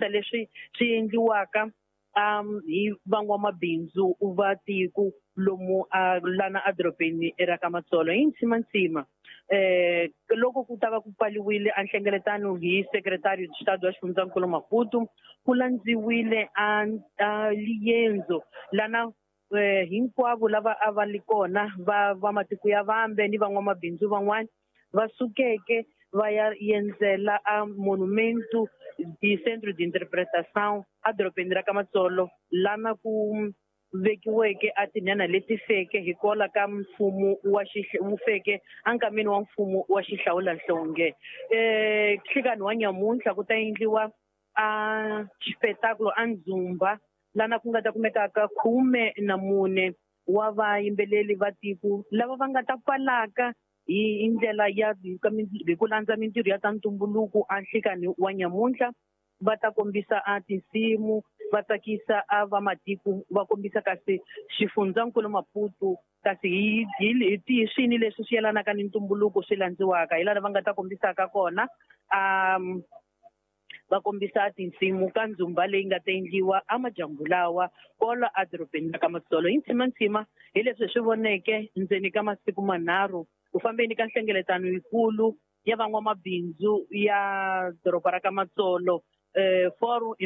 Leswi swi endliwaka hi van'wamabindzu va tiko lomu lana edorobeni ra ka Matsolo hi ntsimantsima. Loko ku ta va ku pfaliwile a nhlengeletano hi Secretario de Estado wa xifundzankulu Maputo, ku landziwile a liyendzo lana hinkwavo lava a va li kona va matiko ya vambe ni van'wamabindzu van'wana va sukeke va ya endzela a Monumento de Centro de Interpretação edorobeni ra ka Matsolo, lana ku vekiweke a tinhenha leti feke hikwalaho ka mfumo wa wu feke enkameni wa mfumo wa xihlawulanhlonge. Nhlikani wa nyamuntlha ku ta endliwa a xipetakulo a ndzumba lana ku nga ta kumekaka 14 wa vayimbeleri va tiko lava va nga ta pfalaka hi ndlela ya hi ku landza mintirho ya ta ntumbuluko a nhlikani wa nyamuntlha. Va ta kombisa a tinsimu, va tsakisa a va matiko, va kombisa kasi xifundzankulu Maputo kasi hi tihi swini leswi swi yelanaka ni ntumbuluko swi landziwaka, hi laha va nga ta kombisaka kona va kombisa tinsimu ka ndzumba leyi nga ta endliwa amadyambu lawa kwala edorobeni ra ka Matsolo. Hi ntsimantsima hi leswi hi swi voneke ndzeni ka masiku manharhu ku fambeni ka nhlengeletano yikulu ya van'wamabindzu ya doroba ra ka Matsolo, Fórum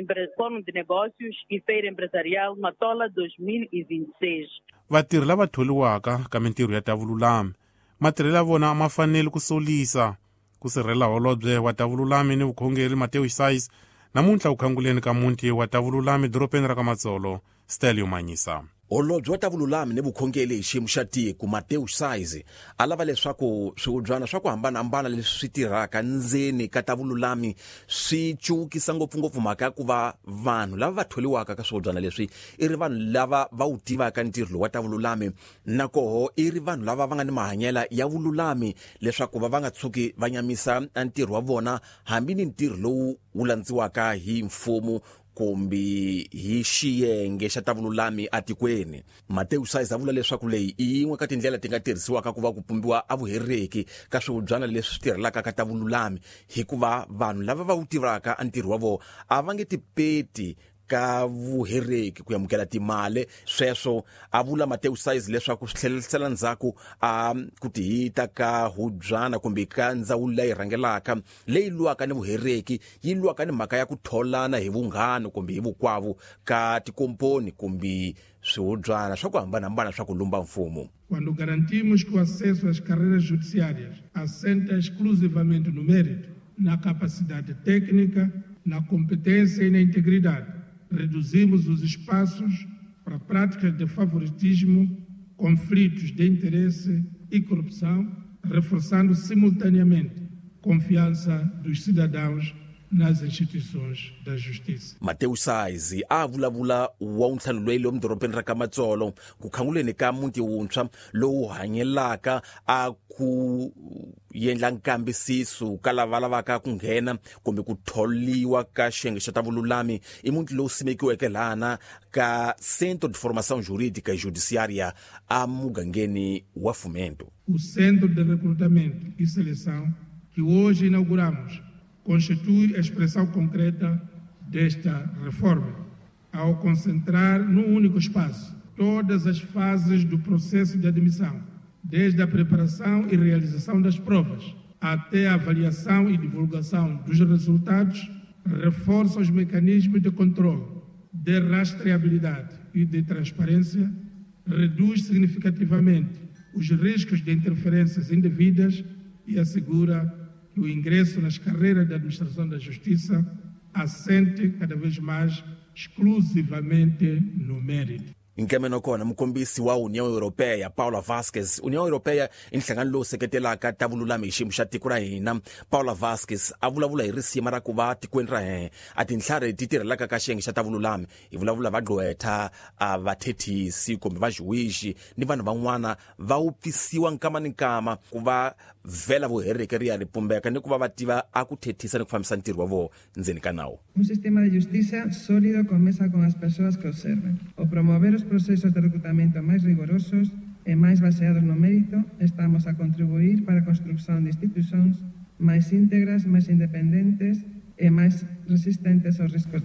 de Negócios e Feira Empresarial Matola 2026. Vatirhi lava tholiwaka ka mintirho ya ta vululami matirhelo ya vona a ma faneli ku solisa. Ku sirhelela holobye wa ta vululami ni vukhongeri Mateo Sais namuntlha ku khanguleni ka muti wa ta vululami dorobeni ra ka Matsolo, Stelio Manyisa. Holobye wa ta vululami ni vukhongeri hi xiyimo xa tiko Mateo Sais a lava leswaku swihubyana swa ku hambanahambana leswi swi tirhaka ndzeni ka ta vululami swi cukisa ngopfungopfu mhaka ya ku va vanhu lava va tholiwaka ka swihubyana leswi i ri vanhu lava va wu tivaka ntirho lowu wa ta vululami, na koho i ri vanhu lava va nga ni mahanyela ya vululami leswaku va va nga tshuki va nyamisa ntirho wa vona hambi ni ntirho lowu wu landziwaka hi mfumo kumbe hi xiyenge xa ta vululami atikweni. Mateo Sais a vula leswaku leyi i yin'we ka tindlela ti nga tirhisiwaka ku va ku pumbiwa a vuhereki ka swihubyana leswi swi tirhelaka ka ta vululami, hikuva vanhu lava va wu tivaka a ntirho wa vona a va nge tipeti ka vuhereki ku amukela timali. Sweswo a vula Mateo Sais leswaku swi tlherisela ndzhaku a ku tihita ka hubyana kumbe ka ndzawulo leyi rhangelaka leyi lwaka ni vuhereki, yi lwaka ni mhaka ya ku tholana hi vunghana kumbe hi vukwavu ka tikomponi kumbe swihubyana swa ku hambanahambana swa ku lumba mfumo. Quando garantimos que o acesso às carreiras judiciárias assenta exclusivamente no mérito, na capacidade técnica, na competência e na integridade, reduzimos os espaços para práticas de favoritismo, conflitos de interesse e corrupção, reforçando simultaneamente confiança dos cidadãos nas instituições da justiça. Mateo Sais a vulavula wa ntlhanu loyi lomu dorobeni ra ka Matsolo ku khanguleni ka muti wuntshwa lowu hanyelaka a ku endla nkambisiso ka lava lavaka ku nghena kumbe ku tholiwa ka xiyenge xa ta vululami. I muti lowu simekiweke lana ka Centro de Formação Jurídica e Judiciária a mugangeni wa Fomento. O Centro de Recrutamento e Seleção que hoje inauguramos constitui a expressão concreta desta reforma, ao concentrar num único espaço todas as fases do processo de admissão, desde a preparação e realização das provas até a avaliação e divulgação dos resultados, reforça os mecanismos de controle, de rastreabilidade e de transparência, reduz significativamente os riscos de interferências indevidas e assegura que o ingresso nas carreiras da administração da justiça assente cada vez mais exclusivamente no mérito. Nkameno kona mukombisi wa União Europeia Paula Vasquez. União Europeia i nhlangano lowu seketelaka ta vululami hi xiyimo xa tiko ra hina. Paula Vasquez a vulavula hi risima ra ku va tikweni ra hina a tintlhari ti tirhelaka ka xiyenge xa ta vululami, hi vulavula va gqwetha, a vathethisi kumbe va juwixi ni vanhu van'wana va wupfisiwa nkama ni nkama ku va vhela vuhereki ri ya ri pumbeka ni ku va va tiva a ku thethisa ni ku fambisa ntirho wa vona ndzeni ka nawu. Un sistema de justiza sólido comeza con as persoas que o serven. O promover os procesos de recrutamento máis rigorosos e máis baseados no mérito, estamos a contribuir para a construción de institucións máis íntegras, máis independentes e máis resistentes aos riscos de